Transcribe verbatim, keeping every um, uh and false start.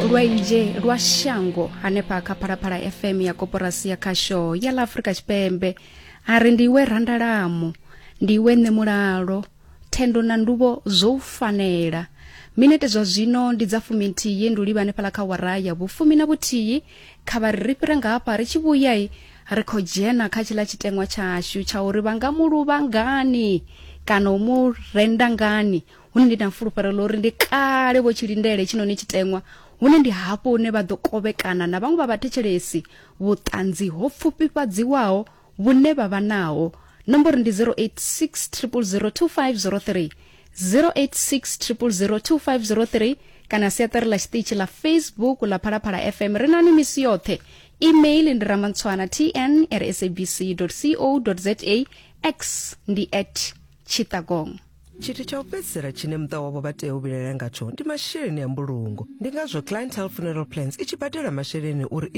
Lwanzhe lwa Shango hanefha kha Phalaphala F M ya koporasi ya khasho ya ḽa Afrika Tshipembe. A ri ndiwe randalamo, ndiwe nṋe mulalo, thendo na nduvho zwo u fanela. Minete zwa zwino ndi dza fuminthihi, ndi u livha hanefhaḽa kha wara ya vhufumi na vhuthihi. Kha vha ri ri fhire nga hafha, ri tshi vhuyai ri khou dzhena kha tshiḽa tshiteṅwa tshashu tsha uri vha nga mu luvha ngani kana u mu renda ngani, hune ndi na fulufhelo ḽa uri ndi kale vho tshi lindele tshinoni tshiteṅwa, hune ndi hafho hune vha ḓo kovhekana na vhaṅwe vha vhathetshelesi vhuṱanzi ho pfufhifhadziwaho vhune vha vha naho. Nomboro ndi zero eight six zero zero two five zero three, zero eight six zero zero two five zero three, kana siaṱari ḽa tshiṱitshi ḽa Facebook ḽa Phalaphala F M. Ri nani misi yoṱhe. Email ndi ramantswana T N at S A B C co za, X ndi at Chitakong. Tshithu tsha u fhedzisela tshine muṱa wavho vha tea u vhilaela ngatsho ndi masheleni a mbulungo. Ndi ngazwo Clientele Funeral Plans i tshi badela masheleni uri i